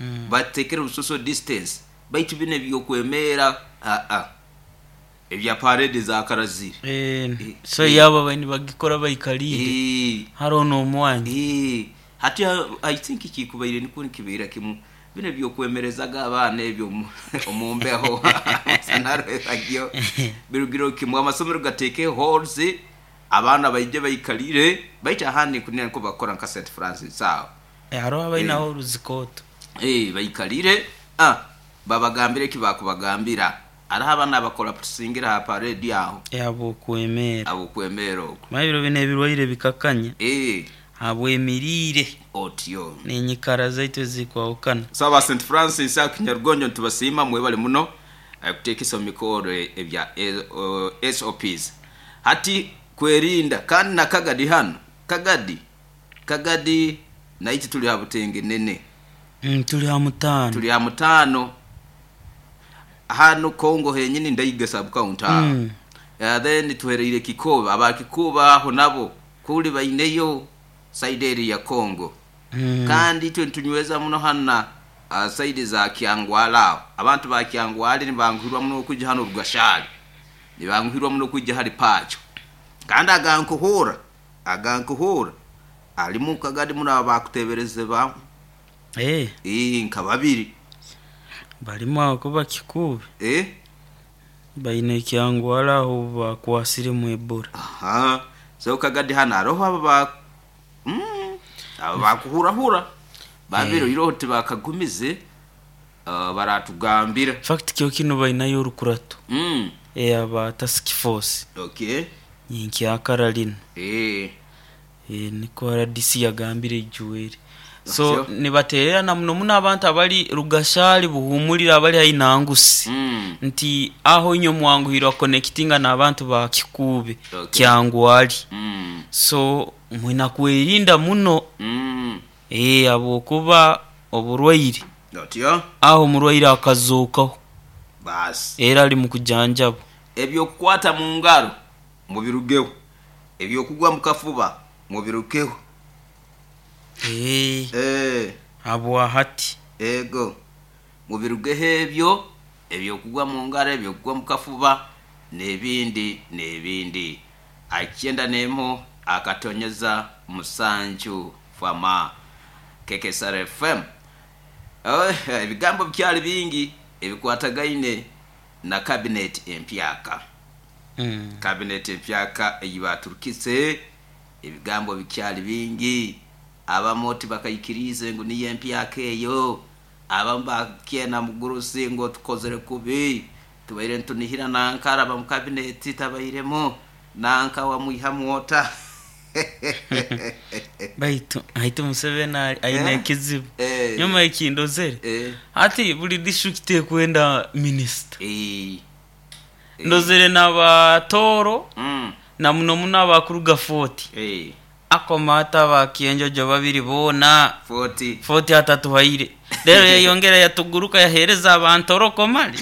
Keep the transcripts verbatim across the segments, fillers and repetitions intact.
Mm. Batekere social distance baitu bine byokwemera a a ebya parade za karaziri. Eh, Eh, so eh. yaba bani bagikora bayikalire Eh, haro n'omwanya. Eh, hati I think kikubaire niko nikibeera kimu bino byokwemerezaga abaana ebyo omu- omu mbeho sanarwegyo birugiro kimwe amasomero gateeke halls abaana baije baikalire baitu ahandi kunira niko bakora nka Saint Francis aho. Eh, hariho abainaho oruzikoto. Eh, baikalire ah babagambire eki bakubagambira hariho abaana bakora tusingira ha parade aho Abokwemera abokwemera okwo. Mabiro bino ebirwaire bikakanya eh habwemiriire otyo n'enyikara zaitu ezikwahukana. So aba Saint Francis akinyarugonjo ntubasiima mwebale muno eh, kuteekesa omu mikoro ebya eh, o- S O Ps hati kwerinda. Kandi na Kagadi hano Kagadi Kagadi naiti tuli ha butenge nene. Mm, tuli ha mutaano. Tuli ha mutaano hano Kongo henyini ndaiga sub county. Mm. Uh, then tuhereire Kikuba aba Kikuba aho nabo kuli baineyo side area ya Kongo. Mm. Kandi twe tunyweza muno hana uh, side za Kyangwala abantu ba Kyangwali nibanguhirwa muno kujja hano Rugashali nibanguhirwa muno kujja hari Pacho. Kandi agankuhura agankuhura alimu Kagadi muno abakutebereze ba eh eh nka babiri balimu aho kuba Kikubi eh baine Kyangwala aho bakwasire mu Ebola. Aha so Kagadi hano aroho aba ba mm, aba bakuhurahura babiro eh. Iroho tibakagumize uh, baratugambira fact kyo kino bainayo orukurato mm. eh aba task force okay nyinkya lino eh eh niko R D C yagambire ijuwere so Otyo. nibatererana muno muno abantu abali Rugashali buhumulira abali hainangusi mm. nti aho inyo mwanguhirwa connectinga n'abantu ba Kikubi Okay. Kyangwali mm. so mwina kwerinda muno mm. eh abokuba oburwaire otyo aho omurwaire akazuukaho basi era ali mu kujanjaba. Ebyokukwata mu ngaro mubirugeho, ebyokugwa mu kafuba mubirukeho. Eh eh abo ahati ego mubirugeho ebyo ebyokugwa mu ngaro ebyokugwa mu kafuba n'ebindi n'ebindi. Akyenda nemo akatonyeza musanju fama K K S R F M. Oh, ebigambo byali bingi ebikwatagaine na cabinet empyaka. Mm. Cabinet empyaka eyibaturukise ebigambo bikyali bingi abamoti bakayikirize ngo niye empyaka eyo abamba kyena mugurusi ngo tukozere kubi tubaire ntunihira nankara ba mu cabinet tabairemo nanka wa mwiha mwota. Baitu haitu Museveni aine Eh? kizibu Eh. nyuma ekindozere Eh. ati buli district ekwenda minister Eh. ndozere n'abatoro Mm. na muno muno abakuruga forty Eh. akomata bakienjojo babiri bona forty forty atatuhaire rero yayongera yatuguruka yahereza abantu komali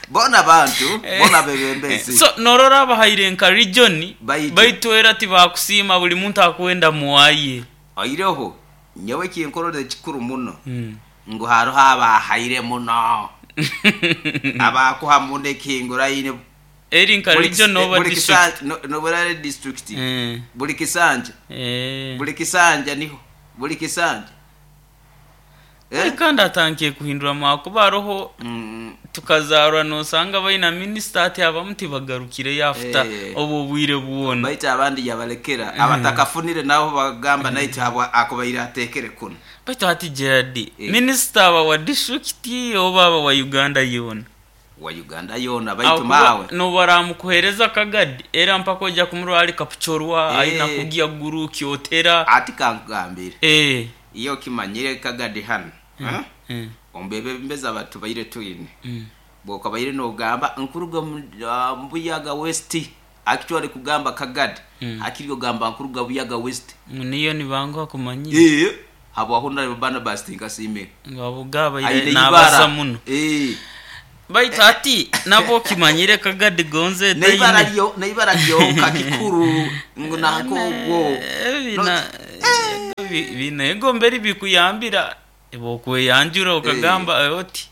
bona bantu bona bebembezi so norora abahaire nka region Baitu. baitu era tibakusima buli muntu akwenda muwaye aireho nyewe kinkorore kikuru muno mm. ngo hariho abahaire muno abakuha muno ekinguraine eri nka region oba district nobura district mm. buli kisanja eh buli kisanja niho buli kisanja eh kandi atankiye kuhindura makuba roho mm. tukazarwa nosanga baina minister ati abamuti bagarukire yafuta Eh. obo bwire buwona baita abandi yabalekera abatakafunire nabo bagamba naiti abo akubaira atekere kuno baita ati Gerard Eh. minister aba wa district oba aba wa Uganda yona wa Uganda yona baitu mawe no baramukuhereza Kagadi era mpaka ojja kumurwali kapuchorwa Eh. aina kugia guru kyotera ati kankugambire eh iyo kimanyire Kagadi hano mm. mm. ombebe mbeza abantu baire twine mm. boka baire nogamba nkuruga uh, Mbuyaga West actually kugamba Kagadi Mm. akiri gamba nkuruga Buyaga West niyo nibango kumanyira eh habo ahunda bana bastinga sime ngabo gaba Aine nabasa ibara. muno eh baitu ati nabo kimanyire Kagadi gonze neibara lyo neibara lyo kakikuru ngo nako bina Binego mberi bikuyambira bokweyanjura okagamba eh, oti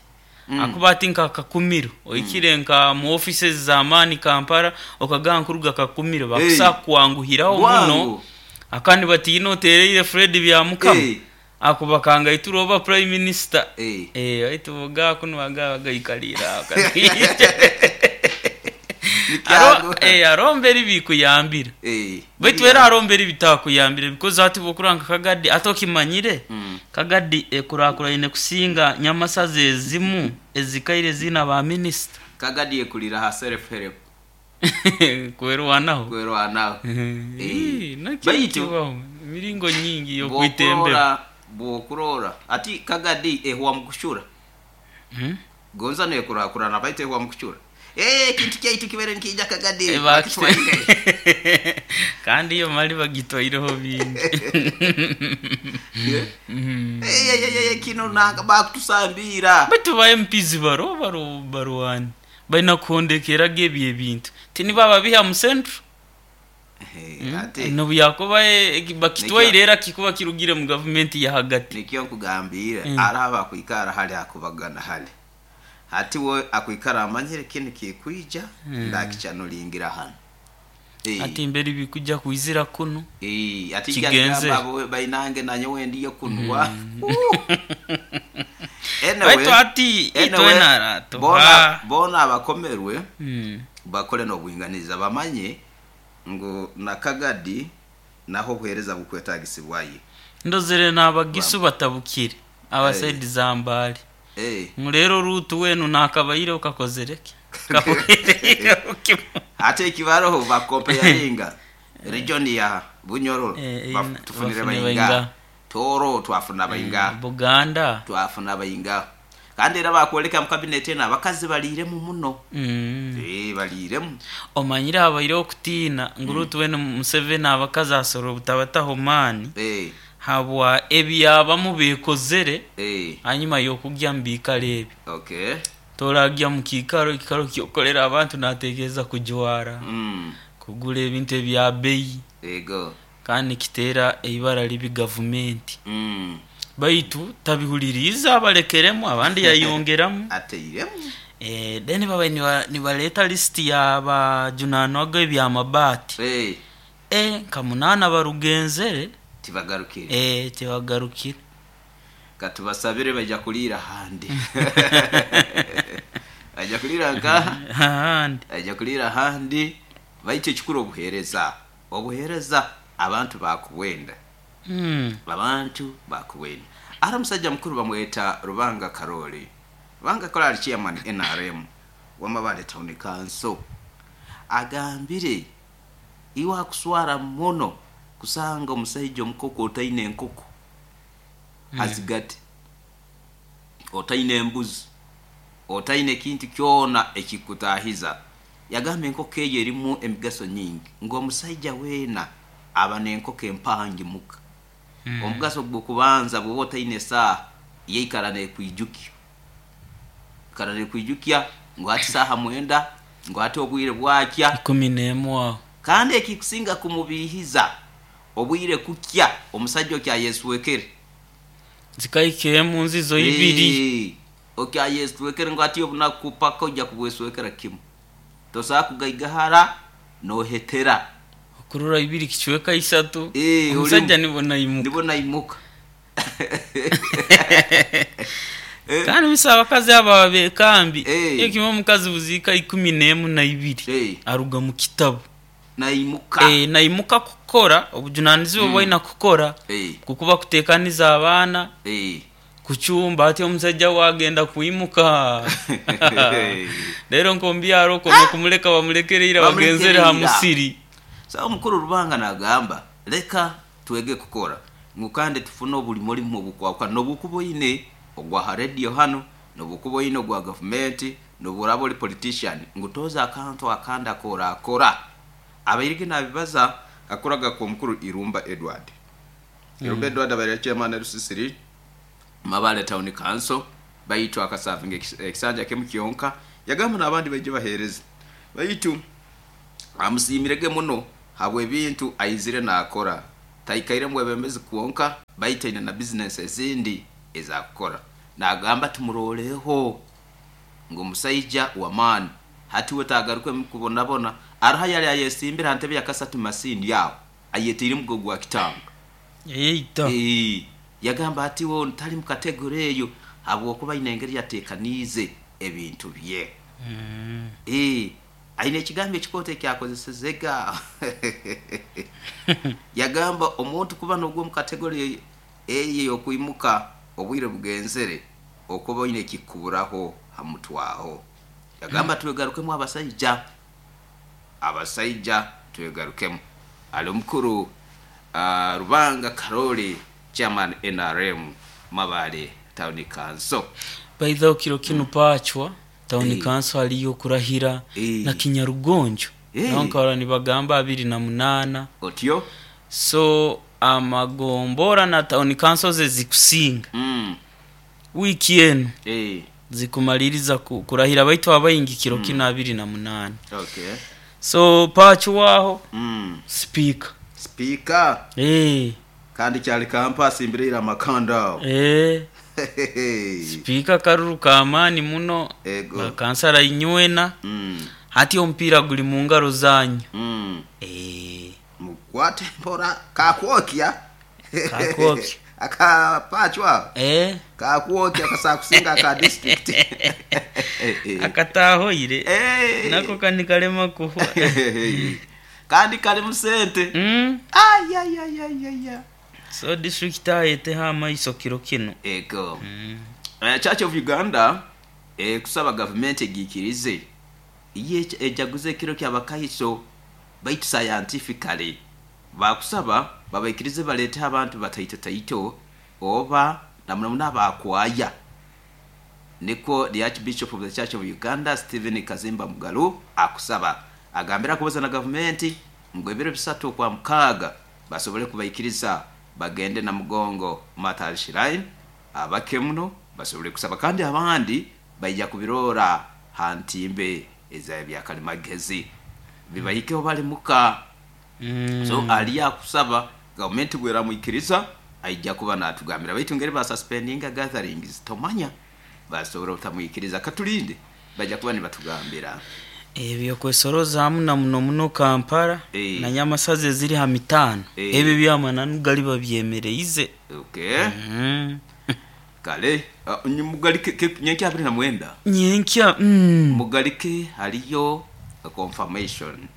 Mm. akuba ati nka Kakumiro oikire nka mu offices z'amaani Kampala, okagamba nkuruga Kakumiro, bakusa kwanguhiraho Bwangu. muno. Akandi batiina otereire Fred Byamukama Eh. akuba kangaitura oba prime minister. Eh. Eh, aitu boga kuno baga bagaikalira. Nikyago. Eh, aromberi bikuyambira, Eh. baitu era aromberi bitakuyambire, because ati bokuranga Kagadi ate okimanyire Mm. Kagadi ekurakuraine kusinga nyamasaza ezimu ezikaire zina ba minisita. Kagadi ekulira ha self help. Kwerwanaho. Kwerwanaho. Eh, nakyo Baitu kibaho emiringo nyingi yokwitembera. bwokurora bwokurora ati Kagadi ehwa mukushura. Hmm? Gonza nekurakurana, baitu ehwa mukushura. Eh, ekintu kyaitu kibere nikija Kagadi. Eh, bakitwaire. Kandi iyo mali bagitwaireho bingi. Eh, eh, eh, eh, kino nanga bakutusambira. Baitu ba M Ps baro baro barwani balina kuhondekeraga ebyo ebintu, tinibaba biha mu central. Eh, ate nobu yakuba eh, bakitwaire era kikuba kirugire mu gavumenti ya hagati. Nikyo nkugambira. Mm. Araba akwikara hali akubagana hali hati we akwikara amanyire kinu kikwija ndakicyanulingira hano. Eh, ati imbere bikujja kwizira kuno. Eh, ati Kigenze. jagamba bo bainange nanyo wendiyo kunwa. Anyway, baitu ati anyway, itwenara bona bona abakomerwe Mm. bakole n'obwinganiza, bamanye ngu na Kagadi naho obuheereza bukwetagisibwaye. Ndozere n'abagisu batabukire abasaidi za Mbale. Eh, ngu rero Rutu wenu nakabaire okakozereke. Ate ekibaroho bakompeyaringa region ya Bunyoro, Eh, eh, baf- tufunire bafune bayinga. bayinga. Toro twafuna bayinga. Buganda. Twafuna bayinga, kandi era bakwoleka mu kabineti eno abakazi baliiremu muno. Mm. Eh, baliiremu. Omanyire habaire okutiina ngu Rutu wenu Museveni abakazi asoro obutabataho maani Eh, habwa ebyabamu bekozere eh, hanyuma y'okugya mu biikaro ebi. Okay Toragya mu kiikaro, ekikaro kyokolera abantu natekereza kujwara, Mm, kugura ebintu ebya beyi, ego kandi kiteera eibara libi gavumenti. Mm, baitu tabihuliriza, abalekeremu abandi yayongeramu. Ateiremu. Eh, then babaye niba- nibaleta lisiti yabajunanwaga ebyamabaati. Eh, eh, nka munaana barugenzere. Tibagarukire. Eh, tibagarukire. Katubasabire bajja kuliira handi, bajja kuliira nka ahandi. Bajja kuliira handi, baitu ekikuru obuheereza, obuheereza abantu bakuwenda. Mm. Abantu bakuwenda. Ara musajja mukuru bamweta Rubanga Karoli. Rubanga Karoli ali chairman N R M wamabale Town Council, agambire iwe akuswara muno kusanga omusajja omukoko otaine enkoko azigate, otaine embuzi, otaine ekintu kyona ekikutahiza. Yagamba enkoko eyo erimu emigaso nyingi, ngaomusajja weena aba n'enkoko empangi muka. Omugaso gwokubanza, bwoba otaine esaaha, yeikara nekwijukya, ikara nekwijukya ngu ati saaha mwenda, ngu ati obwire bwakya. Ikumi n'emu aho. Kandi ekikusinga kumubihiza, obwire kukya omusajja okyayeswekere. Zikaika emu nzizo ibiri. Eh, okyayeswekere ngu ati obunaku paka ojja kubweswekera kimu, tosobola kugaigahara nohetera. Okurora ibiri kicweka isatu. Eh, omusajja olimu. nibona imuka. Nibona imuka. Eh, kandi bisa abakazi aba bekambi. Eh. Ekimwe omukazi buziika ikumi n'emu na ibiri Eh. aruga mu kitabu. Naimuka. Eh, naimuka kukora obujunanizibwa bwaina kukora, Eh, kukuba kutekaniza abaana, eh. kucumba. Ati omusajja wagenda kwimuka rero nkombyaro okome kumuleka, bamulekereira bagenzere ha Bamulekereira. musiri. Sawa, omukuru Rubanga nagamba leka twege kukora, ngu kandi tufune obulimo olimu obukwakwa nobukuba oine ogwa ha radio hano, nobukuba oine ogwa gavumenti, noburaba oli politician, ngu toza akantu akandi akorakora. Abairige nabibaza akoraga ku omukuru Irumba Edward. Irumba Edward abaire chairman Rusisiri Mabale Town Council, baitu akasavinga ekis- ekisanja kemu kyonka. Yagamba n'abandi baije bahereza, baitu amusiimirege muno habw'ebintu aizire nakora, taikaire mwebembezi kwonka. Baitu aine na bizinesi ezindi ezakukora. Nagamba tumuroleho ngu omusaija w'amaani hati we tagaruke mukubonabona. Aroho yali ayesimbire ha ntebe ya kasatu masindi aho ayetiire mugo gwa kitanga Eita. Eh, yagamba ati wo ntali mu kategori eyo habwokuba aine engeri yateekaniize ebintu bye. Mm. Eh, aine ekigambo ekikooto ekyakozesezega. Yagamba omuntu kuba nogwo mu kategori eyo ey'okwimuka obwire bugenzere okuba oine ekikuburaho hamutwaho. Yagamba twegarukemu abasaija, abasaija twegarukemu. Ali omukuru uh, Rubanga Karoli, chairman N R M Mabale Town Council. Baitha kiro kinu pachwa Town Eh. Council aliyo kurahira Eh. na Kinyarugonjo. Eh. Nankora nibagamba abiri na munana. Otyo? So amagombora na Town Council ze zikusinga. Mm. Wiki enu Eh. zikumaliriza ku-, kurahira baitu abayingi kiro Mm. kino abiri na munana. Okay. So pachwa aho Mm. speaker. Speaker. Eh. Kandi kyali campus imbere amakanda. Eh. Speaker karuru kamani muno. Ego. Kansara inywena. Mm. Hati ompira guli mu ngaro zanyu. Mm. Eh. Mukwate mpora kakwokya. Kakwokya. Akapachwa. Eh. Kakwokya kasakusinga ka district. Akatahoire. Eh. Nako kandi kalema kuhwa. Kandi kali musente. Mm. Ay ay ay ay ay. So district ayete ha maiso kiro kino. Ego. Mm. Uh, Church of Uganda eh, kusaba government egikirize iye ejaguze kiro kyabakahiso baitu scientifically bakusaba babaikirize balete abantu bataito taito oba namuna abakwaya. Niko the Archbishop of the Church of Uganda Stephen Kazimba Mugalu akusaba agambira kubaza na government ngo ebiro bisatu kwa mkaga basobole kubaikiriza bagende na mugongo Matal Shrine abakemuno basobole kusaba kandi abandi baija kubirora hantimbe eza byakalimagezi bibayikeho bali muka. Mm. So aliya kusaba government bwera muikiriza aija kuba natugambira baitu ngeri ba suspendinga gatherings tomanya basobora otamuikiriza katulinde baija kuba nibatugambira ebyo kwesoroza hamu na muno muno Kampala e. na Nyamasaze ziri ha mitano e. Ebyo byamananu gali babyemereize. Okay. Mm. Kale uh, mugalike nyenkya abiri na mwenda nyenkya mm. Mugalike haliyo confirmation,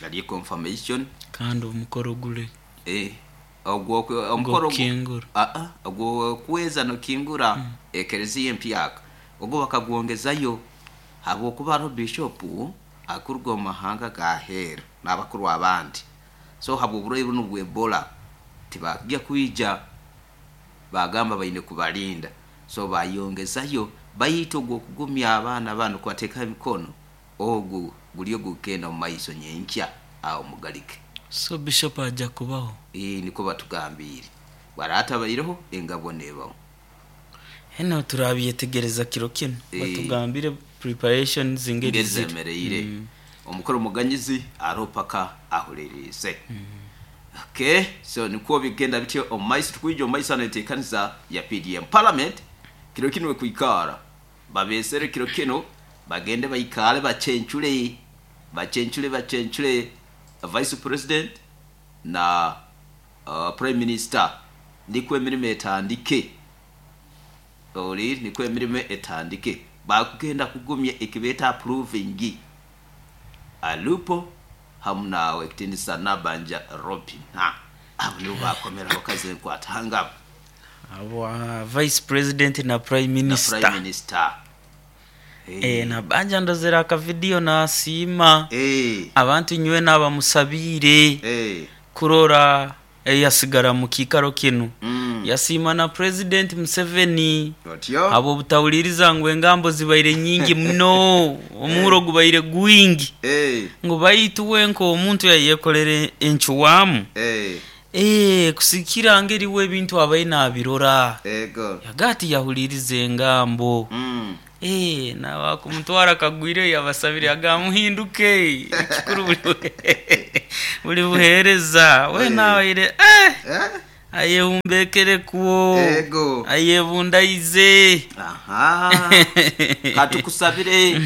haliyo confirmation kandi omukoro gule eh ogwo omukoro kingura a a ogwo kuweza no kingura mm. Ekereziya empyaka ogwo bakagwongezayo habwokuba ro bishop akurwa mahanga gahera n'abakuru abandi so habwo buroyi buno bwebola tibakijya kuija bagamba baine kubalinda so bayongezayo bayito ogwo kugumya abaana bano kwateka emikono ogwo gulyo gukenda mu maiso nyenkya awo mugalike. So bishop aja kubaho eh niko batugambire barata bayireho engabo nebaho heno turabyetegereza kiro kino e. Batugambire preparations ingeri zemereire mm. Omukoro muganyizi aropaka ahuririze mm. Okay, so niko bigenda bityo omaiso tukwijo omaiso anetekanisa ya P D M Parliament kiro kino kuikara babesere kiro kino bagende bayikale bachenchure bachenchure bachenchure Vice President na uh, Prime Minister ndikwe emirimo etandike ori nikwe emirimo etandike bakugenda kugumya ekibeta approving alupo hamna wekitindisa Nabanja Robina abo nibo bakomera bakaze kwatanga abo uh, Vice President na Prime Minister na Prime Minister hey. Eh Nabanja ndozera aka video na asima hey. Abantu nywe nabamusabire hey. Kurora eh, yasigara mu kikaro kino mm. Yasima na President Museveni Otyo abo butawuliriza ngo engambo zibaire nyingi muno omuro gubaire gwingi hey. ngo bayituwe nko omuntu yayekolere enchuwamu hey. Eh kusikira ngeri we bintu abaye nabirora ego yagati yahulirize engambo mm. Eh na wakumutwara kagwire yabasabire agamuhinduke ekikuru buli buli buhereza we Eh. nawe eh Eh? Ayehumbekerekwo. Ego. Ayebundaize. Aha, katukusabire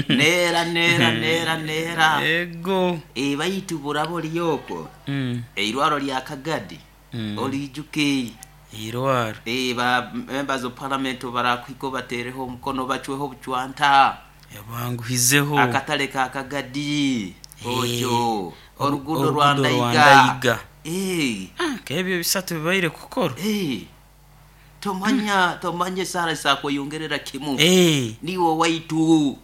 neera neera neera neera. Ego. E, baitu burabo lyokwo Mm. eirwaro lya Kagadi Mm. oliijuke. Irwaro. E, ba members of parliament barakwiko batereho omukono bacweho obucwanta. Yabanguhizeho. Akatale ka Kagadi Eh, otyo oru- orugudo rwa orugudo rwa Ndaiga. Ndaiga. Eh, Ah, kebyo bisatu bibaire kukora. eh, tomanya tomanya esara esakweyongerera kimu. Eh, niwe waitu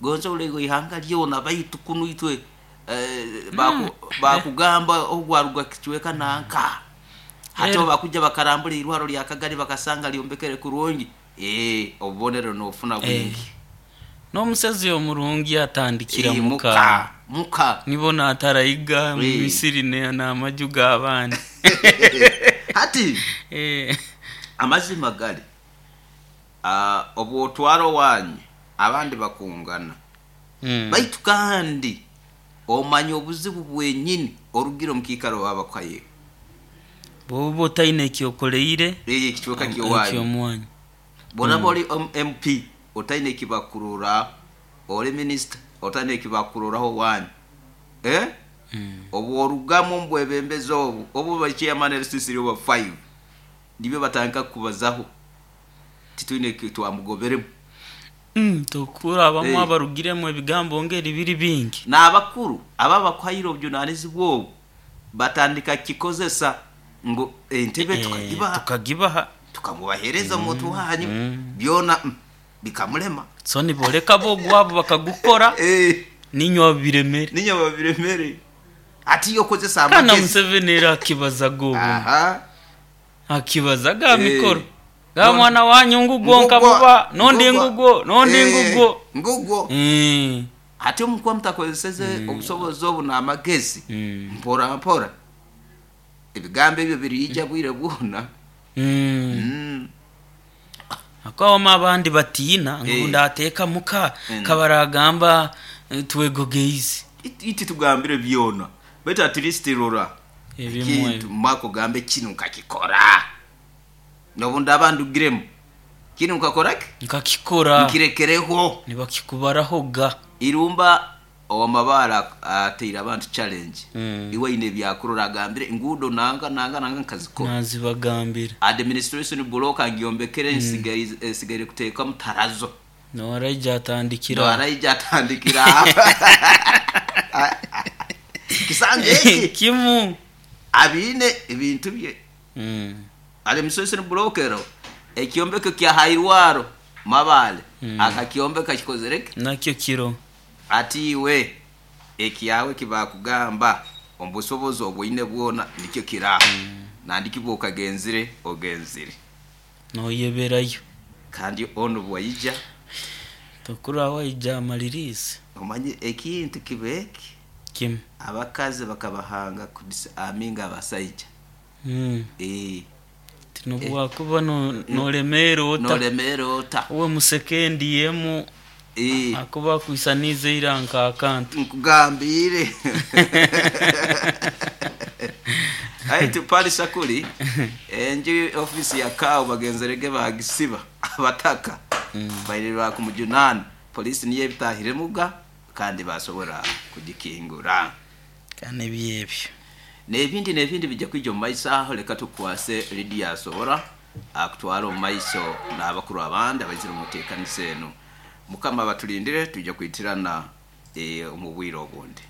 gonza olego ihanga lyona baitu kunu itwe eh, baku- bakugamba ogwaruga kicweka nanka hati Era. bakuja bakarambura irwaro lya Kagari bakasanga lyombekere kurungi. Eh, obubonero nofuna bwingi. N'omusezi omurungi atandikira Eh, muka. muka muka. Nibona atarayiga mu Eh. misiri ne- n'amaju g'abaana. Hati Eh, amazima gali, ah, obwotwara owanyu abandi bakungana. mm. Baitu kandi omanya obuzibu bwenyini orugire omu kiikaro wabakaye. Bw'oba otaine ekyokoleire Ekicweka kyowanyu. ekyomwanyu. Bonaba oli om- M P otaine ekibakurura, oli minisita otaine ekibakururaho wanyu, eh? Mm. Obworugamu omu bwebembezi obu obu ba chairman L C C oba five nibyo batandika kubazaho titwine eki twamugoberemu. Mm, tokurabamu Eh. abarugiremu ebigambo ngeri biri bingi. N'abakuru aba bakwahire obujunanizibwa obu batandika kikozesa ngu entebe Eh, tukagibaha, tukagibaha, tukamubahereza omuntu wanyu, Mm. byona mm, bikamulema. So niboleka bo ogwabo bakagukora Eh, ninywa biremere. Ninya babiremere ati yokozesa Kana amagezi. Museveni era akibazaga obu Aha. akibazaga Eh. mikoro ga mwana wanyu ngugwo nkamuba nondi ngugwo nondi Eh, ngugwo. Ngugwo. Mm. Ate omukuba mutakozeseze obusobozi obu n'amagezi, Mm. mpora mpora ebigambo ebyo biriija bwire bwona. Mm. Mm. Akawama abandi batiina ngu Eh. ndateeka muka Mm. kabaragamba eh, twegogeize. It- iti tugambire byona baitu at least rora ebimwe. kintu mako gambe kinu nkakikora nobu ndaba ndugiremu kinu nkakoraki. Nkakikora. Nkirekereho. Nibakikubaraho ga. Irumba owamabaara ateire abantu challenge. Mm. Iwe aine ebyakurora agambire enguudo nanga nanga nanga nkazikora. Nazibagambira. Administration block ngyombekere, nsigaire nsigaire kuteekamu tarazo. Nowaraija atandikira. Araija atandikira kisanja eki kimu. abiine ebintu bye. Mm. Administration block ero ekyombeko kya hairwaro mabale Mm. akakyombeka kikozereke. Nakyo kiro. Ati iwe ekyawe kibakugamba omubusobozi obwine bwona nikyo kiraho mm. nandikibwa okagenzire ogenzire. Noyeberayo. Kandi ono bwaija. Tokura waija amalirize. Omanye ekintu kibeeki. Kimu. Abakazi bakabahanga aminga abasaija. Mm. e, tinobwakuba no- nolemera ota. Nolemera ota. Uwe musekendi yemu e, akuba akwisanize ira nkakantu. Nkugambire aitu pali sakuli enju ofisi ya kawo bagenzerege bagisiba abataka bairira kumujunana polisi niyo ebitahiremuga kandi basobora kugikingura. Kandi ebyebyo. N'ebindi n'ebindi bijja kwija omu maiso aho. Leka tukwase Lidiya asobora akutwara omu maiso n'abakuru abandi abaizire omu nteekaniza eno. Mukama batulindire, tujja kwitirana eh, omu bwire obundi.